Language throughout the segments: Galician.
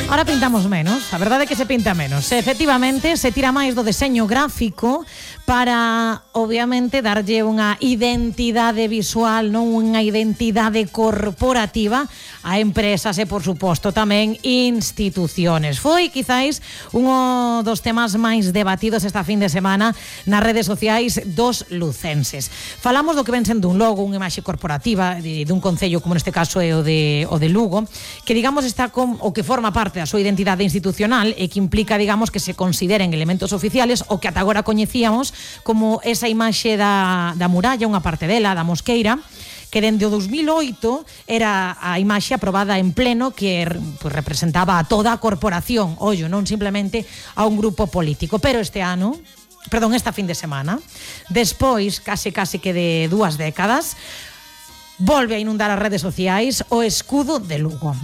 Ahora pintamos menos, a verdade é que se pinta menos. Efectivamente, se tira máis do deseño gráfico para, obviamente, darlle unha identidade visual, non unha identidade corporativa a empresas e, por suposto, tamén instituciones. Foi, quizáis, un dos temas máis debatidos esta fin de semana nas redes sociais dos lucenses. Falamos do que ven sendo un logo, unha imaxe corporativa dun concello, como neste caso é o de Lugo, que, digamos, está o que forma parte da súa identidade institucional e que implica, digamos, que se consideren elementos oficiales o que ata agora coñecíamos como esa imaxe da muralla, unha parte dela, da mosqueira, que dende o 2008 era a imaxe aprobada en pleno que pues, representaba a toda a corporación, ollo, non simplemente a un grupo político. Pero esta fin de semana, despois, case que de 2 décadas, volve a inundar as redes sociais o escudo de Lugo.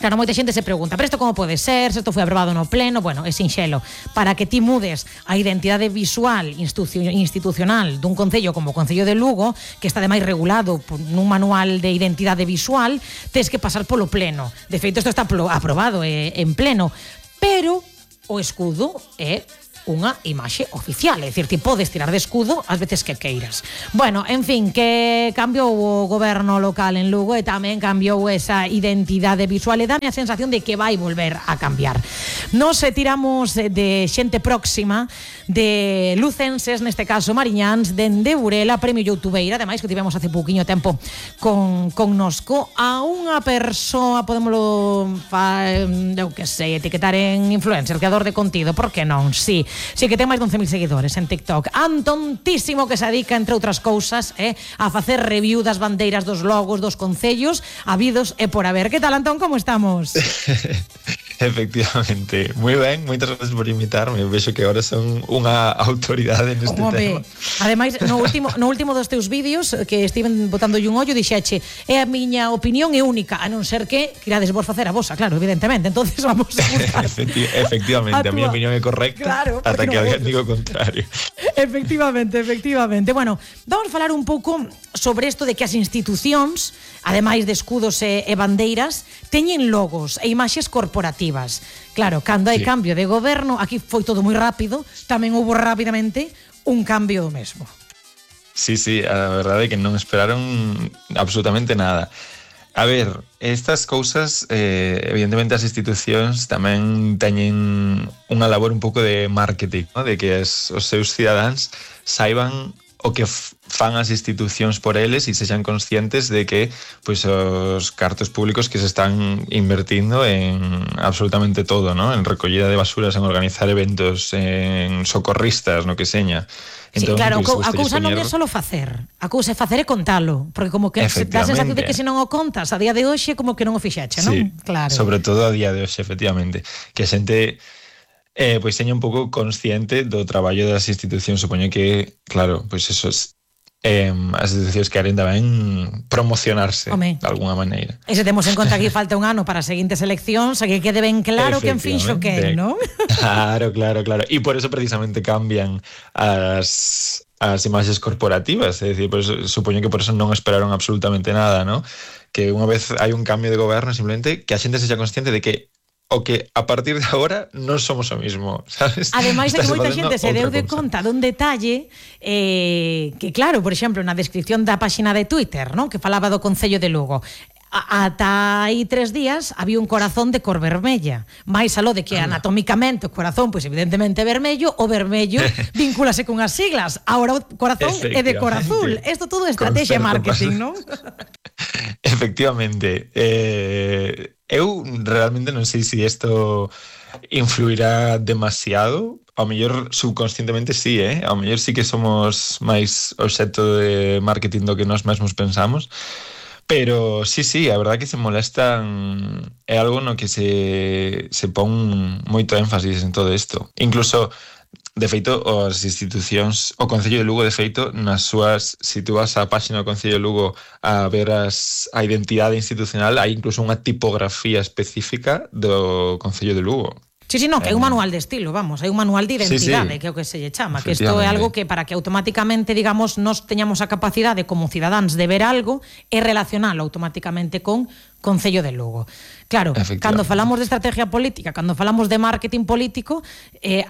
Claro, moita xente se pregunta, pero isto como pode ser, se isto foi aprobado no pleno? Bueno, é sinxelo. Para que ti mudes a identidade visual institucional dun concello como o Concello de Lugo, que está ademais regulado nun manual de identidade visual, tes que pasar polo pleno. De feito, isto está aprobado en pleno, pero o escudo é unha imaxe oficial, é dicir, ti podes tirar de escudo ás veces que queiras. Bueno, en fin, que cambiou o goberno local en Lugo e tamén cambiou esa identidade visual e dame a sensación de que vai volver a cambiar. Nos tiramos de xente próxima, de lucenses, neste caso mariñáns, dende Burela, premio youtubeira, ademais que tivemos hace pouquiño tempo con nosco, a unha persoa, podémoslo eu que sei, etiquetar en influencer, creador de contido, por que non? Sí, que ten máis de 11.000 seguidores en TikTok. Antontísimo, que se dedica, entre outras cousas, a facer review das bandeiras, dos logos, dos concellos habidos e por haber. Que tal, Antón, como estamos? Efectivamente, moi ben, moitas gracias por invitarme. Vexo que agora son unha autoridade neste tema. Ademais, no último dos teus vídeos que estiven botándolle un ollo, dixeche, é a miña opinión é única, a non ser que quirades vos facer a vosa, claro, evidentemente. Entonces vamos a buscar efectivamente, a miña opinión é correcta, claro, ata que alguén diga o contrario. Efectivamente. Bueno, vamos a falar un pouco sobre isto de que as institucións, ademais de escudos e bandeiras, teñen logos e imaxes corporativas. Claro, cando hai cambio de goberno, aquí foi todo moi rápido, tamén houbo rapidamente un cambio do mesmo. Sí, a verdade é que non esperaron absolutamente nada. A ver, estas cousas, evidentemente as institucións tamén teñen unha labor un pouco de marketing, ¿no? De que os seus cidadáns saiban o que fan as institucións por eles e sexan conscientes de que pois, os cartos públicos que se están invertindo en absolutamente todo, ¿no? En recollida de basuras, en organizar eventos, en socorristas, no que seña. Entón, sí, claro, a cousa non é só facer, a cousa é facer e contalo, porque como que dá a sensación de que se non o contas a día de hoxe, como que non o fixeche, non? Sí, claro. Sobre todo a día de hoxe, efectivamente, que a xente pois seña un pouco consciente do traballo das institucións. Supoño que, claro, pois eso as institucións queren tamén promocionarse de alguna maneira. E se temos en conta que falta un ano para as seguintes eleccións, que quede ben claro quen finxo que, non? Claro. E por eso precisamente cambian as imaxes corporativas, é dicir, pues, supoño que por eso non esperaron absolutamente nada, ¿no? Que unha vez hai un cambio de goberno, simplemente que a xente sexa consciente de que o que a partir de agora non somos o mismo, sabes? Ademais de que moita xente se deu de conta dun detalle que, claro, por exemplo, na descripción da páxina de Twitter, non? Que falaba do Concello de Lugo, ata aí 3 días había un corazón de cor vermella, máis aló de que anatómicamente o corazón, pois evidentemente vermello, o vermello vincúlase con as siglas, agora o corazón é de cor azul. Isto todo é estrategia marketing, non? Efectivamente. Eu realmente non sei se isto influirá demasiado. Ao mellor subconscientemente sí, ao mellor sí que somos máis obxecto de marketing do que nós mesmos pensamos. Pero sí, a verdade que se molestan, é algo no que se pon moito énfasis en todo isto. Incluso, de feito, as institucións, o Concello de Lugo, de feito, nas súas, se tú vas á páxina do Concello de Lugo a ver a identidade institucional, hai incluso unha tipografía específica do Concello de Lugo. Sí, non, que hai un manual de estilo, vamos, hai un manual de identidade, que é o que se lle chama, que isto é algo que para que automáticamente, digamos, nos teñamos a capacidade como cidadáns de ver algo e relacionalo automáticamente con Concello de Lugo. Claro, cando falamos de estrategia política, cando falamos de marketing político,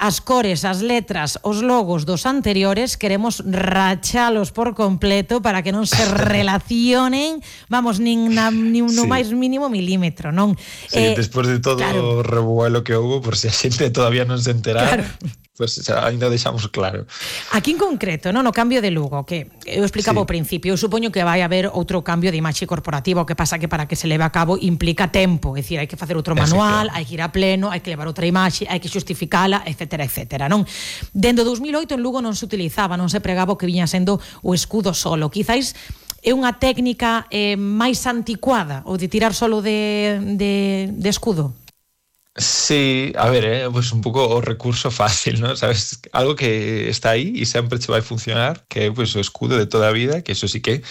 as cores, as letras, os logos dos anteriores queremos rachalos por completo para que non se relacionen, vamos, nin no máis mínimo milímetro, non? Sí, despois de todo o revuelo que houve, por se a xente todavía non se enterara, pues ainda deixamos claro. Aquí en concreto, no cambio de Lugo, que eu explicaba ao principio, eu supoño que vai haber outro cambio de imaxe corporativa, o que pasa que para que se leve a cabo implica tempo, é dicir, hai que facer outro manual, hai que ir a pleno, hai que levar outra imaxe, hai que xustificala, etcétera, etcétera, non? Dende 2008 en Lugo non se utilizaba, non se pregaba o que viña sendo o escudo solo. Quizáis é unha técnica máis anticuada, o de tirar solo de escudo? Sí, a ver, pues un pouco o recurso fácil, ¿no? Sabes, algo que está aí e sempre che vai funcionar, que é pues, o escudo de toda a vida, que eso sí que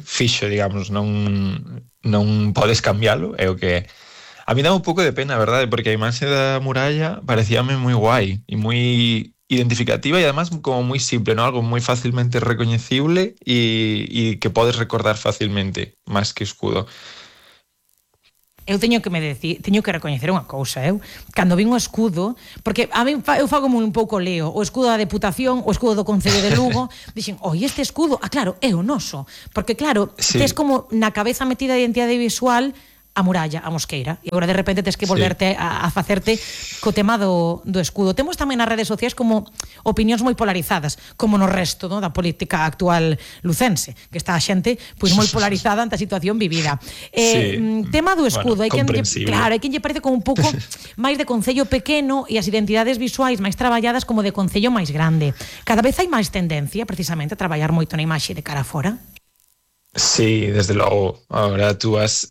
fixo, digamos, non podes cambialo, é o que é. A mí dá un pouco de pena, verdade, porque a imaxe da muralla parecíame moi guai e moi identificativa e además como moi simple, ¿no? Algo moi facilmente recoñecible e que podes recordar facilmente, máis que escudo. Eu teño que recoñecer unha cousa, cando vin o escudo, porque a mí eu fago un pouco leo, o escudo da Deputación, o escudo do Concello de Lugo, dixen, este escudo, claro, é o noso, porque claro, tes como na cabeza metida a identidade visual a muralla, a mosqueira, e agora de repente tes que volverte a facerte co tema do escudo. Temos tamén nas redes sociais como opinións moi polarizadas, como no resto da política actual lucense, que está a xente pois moi polarizada ante a situación vivida. Tema do escudo, hai quen lle parece como un pouco máis de concello pequeno e as identidades visuais máis traballadas como de concello máis grande. Cada vez hai máis tendencia precisamente a traballar moito na imaxe de cara fora. Sí, desde logo. Ahora tú vas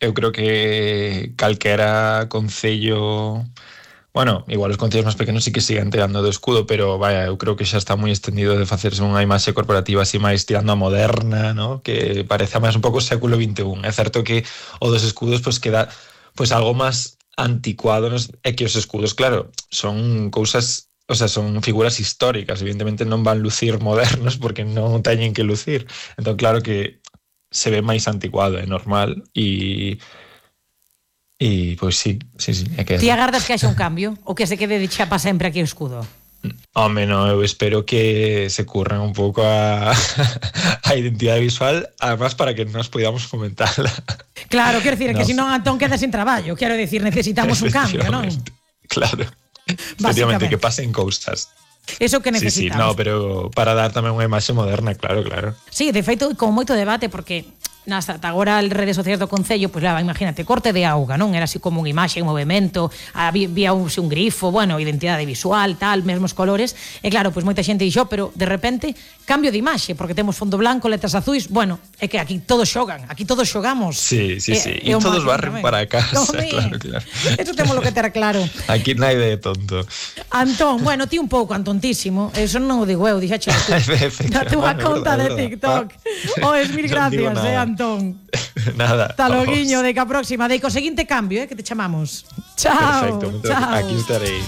eu creo que calquera concello, bueno, igual os concellos máis pequenos sí que siguen tirando do escudo, pero vaya, eu creo que xa está moi estendido de facerse unha imaxe corporativa así máis tirando a moderna, ¿no? Que parece máis un pouco século XXI. É certo que o dos escudos pues queda pues algo máis anticuado, ¿no? É que os escudos, claro, son cousas, o sea, son figuras históricas, evidentemente non van lucir modernos porque non teñen que lucir. Entón, claro que se ve máis anticuado, é normal e pois sí, é que... Ti agardas que haxa un cambio ou que se quede de chapa sempre aquí o escudo? Home, no, eu espero que se curran un pouco a identidade visual, además para que nos podamos comentarla. Claro, quero dicir, que se non Antón queda sin traballo, quero dicir, necesitamos un cambio, non? Claro. Efectivamente, que pasen cousas. Eso que necesitamos. Sí, no, pero para dar tamén unha imaxe moderna, claro. Sí, de feito, con moito debate, porque ata agora as redes sociais do Concello, pois imagínate, corte de auga, non? Era así como unha imaxe en movimento, había un grifo, bueno, identidade visual, tal, mesmos colores, e claro, pois moita xente dixo, pero de repente, cambio de imaxe, porque temos fondo blanco, letras azuis, bueno, é que aquí todos xogan, aquí todos xogamos. Sí, e todos barren para casa, claro. Eso temos lo que ter claro. Aquí nadie é tonto. Antón, bueno, ti un pouco antontísimo, eso non o digo eu, dixaxe na túa conta de TikTok. Mil gracias, Antón. Nada. Hasta loguiño, de que a próxima, de que o seguinte cambio, que te chamamos. Chao. Perfecto, chao. Aquí estarei.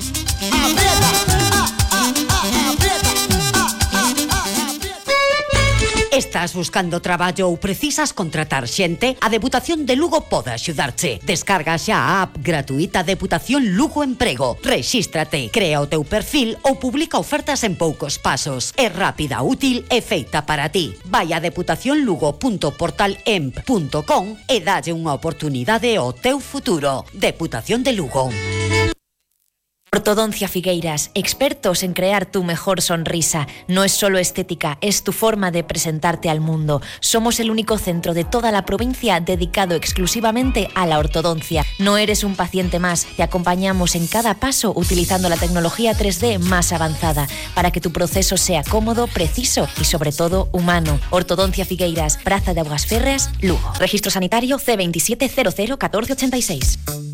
Estás buscando traballo ou precisas contratar xente? A Deputación de Lugo pode axudarche. Descarga xa a app gratuita Deputación Lugo Emprego. Rexístrate, crea o teu perfil ou publica ofertas en poucos pasos. É rápida, útil e feita para ti. Vai a deputacionlugo.portalemp.com e dalle unha oportunidade ao teu futuro. Deputación de Lugo. Ortodoncia Figueiras, expertos en crear tu mejor sonrisa. No es solo estética, es tu forma de presentarte al mundo. Somos el único centro de toda la provincia dedicado exclusivamente a la ortodoncia. No eres un paciente más, te acompañamos en cada paso utilizando la tecnología 3D más avanzada para que tu proceso sea cómodo, preciso y sobre todo humano. Ortodoncia Figueiras, Praza de Augas Férreas, Lugo. Registro sanitario C27001486.